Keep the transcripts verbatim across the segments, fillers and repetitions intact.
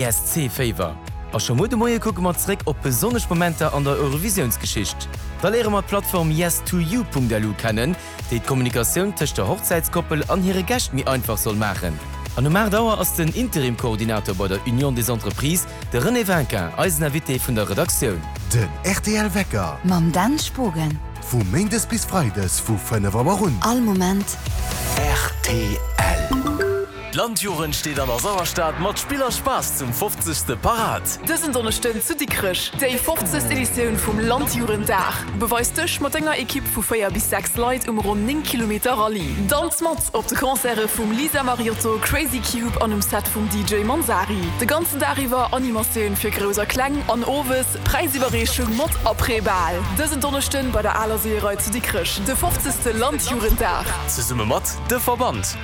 E S C-Féiwer. A scho muer de Moie kucke mer zréck op besonnesch Momenter an der Eurovisiounsgeschicht. Da léiere mer d'Plattform yes two you Punkt L U kennen, déi d'Kommunikatioun tëscht der Hochzäitskoppel an hire Gäscht méi einfach soll maachen. An um aacht Auer ass den Interim-Koordinator bei der Union des Entreprises, de René Vinquin, eisen Invité vun der Redaktioun. Den R T L Wecker. Mam Dan Spogen. Vu Méindes bis Freides vu fënnef Auer un. All Moment. R T L. D'Landjugend steet an der Sauerstad mat Spill a Spaass zum fofzegste parat. Dësen Donneschden zu Dikrech, déi fofzegst Editioun vum Landjugenddag. Beweis dech mat denger Ekipp vu véier bis sechs Leit um ronn néng Kilometer Rallye. Danz mat op de Concerte vum Lisa Mariotto, Crazy Cube an um Set vum D J Manzari. De ganzen Dag iwwer Animatioun fir Grouss a Kleng an owes Präisiwwerreechung mat Après-Bal. Dësen Donneschden bei der Aler Seeërei zu Dikrech, de fofzegste Landjugenddag. Zesumme mat De Verband.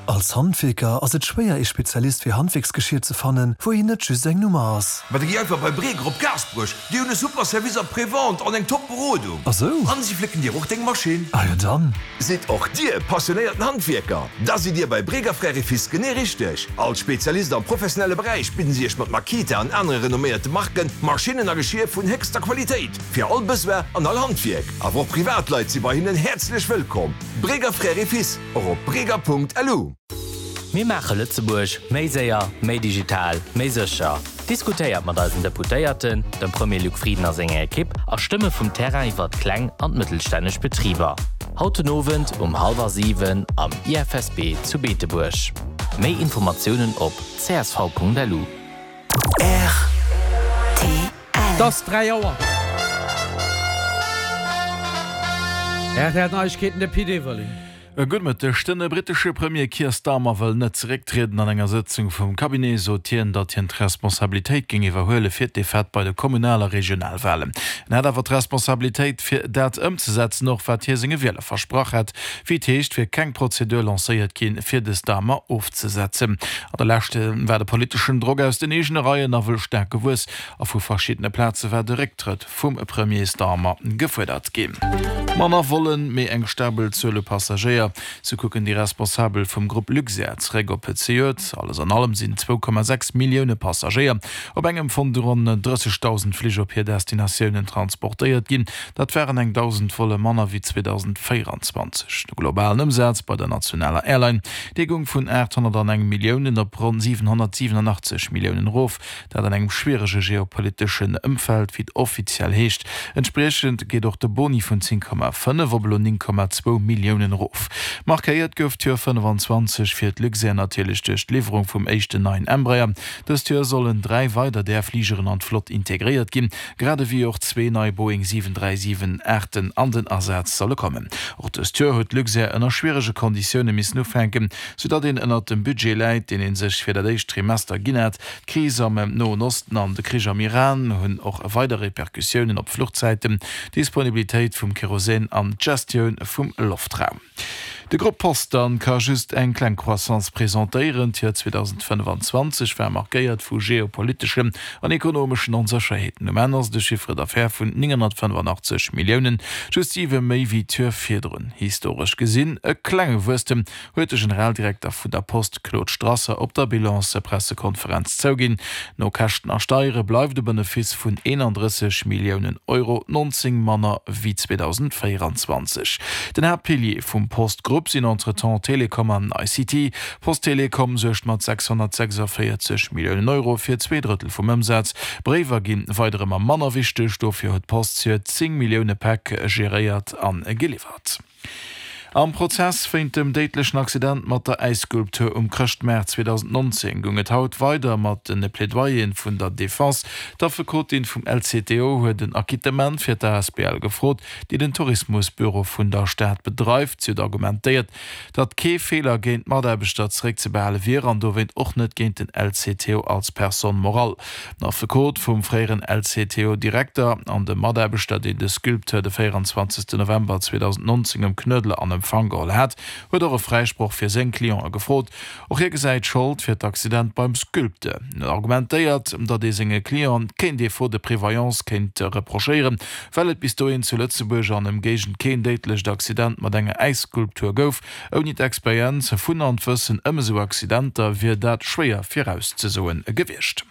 Als Handwierker ass et schwéier, ee Spezialist fir Handwierksgeschier ze fannen, wou een net just eng Nummer ass. Ma da gi einfach bei Breger op Gaasperech, déi hunn e super Service Après-Vente an eng top Berodung. Ah sou? An si flécken dir och deng Maschinn. Ah jo dann. Sidd och dir passionéierten Handwierker? Da sidd dir bei Breger Frères et Fils genee richteg. Als Spezialist am professionelle Beräich bidden si iech mat Makita an anere renomméierte Marken Maschinnen a Geschier vun héchster Qualitéit fir all Besoin an all Handwierk. Awer och Privatleit si bei hinnen häerzlech wëllkomm. Breger Frères et Fils, och op breger Punkt L U. Mir maache Lëtzebuerg méi séier, méi digital, méi sécher. Diskutéiert mat eisen Deputéierten, dem Premier Luc Frieden a senger Ekipp a Stëmme vum Terrain iwwer kleng an mëttelstänneg Betriber. Haut den Owend um hallwer siwen am I F S B zu Beetebuerg. Méi Informatiounen op C S V Punkt L U. R T L. Et ass dräi Auer. R T L Neiegkeeten, de Pit Everling. Gudde Mëtteg. Den brittesche Premier Keir Starmer wëll net zerécktrieden. An enger Sëtzung vum Cabinet sot hien, datt hien d'Responsabilitéit géing iwwerhuele fir d'Defaite bei de Kommunal- a Regionalwalen. En hätt awer d'Responsabilitéit fir dat ëmzesetzen, och wat hie senge Wieler versprach hätt. Wéi et heescht, wier keng Prozedur lancéiert ginn, fir de Starmer ofzesetzen. An der Lescht war de politeschen Drock aus den eegene Reien nawell staark gewuess a vu verschiddene Plaze war de Récktrëtt vum Premier Starmer gefuerdert ginn. Manner Vollen, mee eng stabel Zuel u Passagéier. Sou kucken déi Responsabel vum Grupp Luxair zeréck op zejoert. Alles an allem sinn zwou Komma sechs Millioune Passagéier op engem vun de ronn drëssegdausend Flich op hir Destinatiounen transportéiert ginn. Dat waren eng dausend Volle manner wéi zweedausendvéierenzwanzeg. De globalen Ëmsaz bei der nationaler Airline, dee goung vun aathonnerteneng Milliounen op ronn siwenhonnertsiwenunachtzeg Milliounen erof. Dat an engem schwierege geopoliteschen Ëmfeld, wéi et offiziell heescht. Entspriechend geet och de Boni vun zéng Komma fënnef op elo néng Komma zwou Milliounen erof. Markéiert gouf d'Joer fënnefenzwanzeg fir d'Luxair natierlech duerch d'Liwwerung vum éischten neien Embraer. Dëst Joer sollen dräi weider där Fligeren an d'Flott integréiert ginn, grad ewéi och zwee nei Boeing siwen dräi siwen aachten an den Asaz solle kommen. Och dëst Joer huet d'Luxair ënner schwierege Konditioune missen ufänken, soudatt een ënnert dem Budget läit, deen ee sech fir dat éischt Trimester ginn hat. D'Kris am Noen Osten an de Krich am Iran hunn och weider Repercussiounen op d'Fluchzäiten, d'Disponibilitéit vum Kerosin an d'Gestioun vum Loftraum. De Grupp Post dann ka just eng kleng Croissance presentéieren. D'Joer zweedausendfënnefenzwanzeg war markéiert vu geopoliteschen an ekonomeschen Onsécherheeten. Um Enn ass de Chiffre d'affaires vun nénghonnertfënnefenachtzeg Milliounen, just siwe méi wéi d'Joer virdrun. Historesch gesinn e klenge Wuesstem, huet de Generaldirekter vun der Post Claude Strasser op der Bilanspressekonferenz zouginn. No Käschten a Steiere bleift de Benefice vun eenandrësseg Milliounen Euro, nonzéng manner wéi zweedausendvéierenzwanzeg. Den Haaptpilier vum Post-Grupp sinn entretemps Telekom an I C T. Post Telekom suergt mat sechshonnertsechsundvéierzeg Milliounen Euro fir zwee Drëttel vum Ëmsaz. Bréiwer ginn weider ëmmer manner wichteg, dofir huet d'Post zejoert zéng Millioune Päck geréiert an geliwwert. Am Prozess wéint dem déidlechen Accident mat der Äisskulptur um Chrëschtmaart zweedausendnonzéng goung et haut weider mat de Plädoyeren vun der Defense. D'Affekotin vum L C T O huet en Acquittement fir d'A S B L gefrot, déi den Tourismusbüro vun der Stad bedreift. Si huet argumentéiert, datt kee Feeler géint d'Mataarbechter zeréckzebehale wier an dowéint och net géint den L C T O als Personne morale. Den Affekot vum fréieren L C T O-Direkter an de Mataarbechter, deen de Sculpteur de véierenzwanzegste November zweedausendnonzéng um Knuedler an Empfang geholl hat, huet och e Fräisproch fir seng Clientë gefrot. Och hie gesäit Schold fir d'Accident beim Sculpteur. En argumentéiert, datt ee senge Clientë keen Défaut de prévoyance kéint reprochéieren, well et bis dohin zu Lëtzebuerg an Ëmgéigend keen déidlecht Accident mat enger Äisskulptur gouf. Ouni d'Experienz vun an d'Wëssen ëm esou Accidenter wier dat schwéier virauszesoe gewiescht.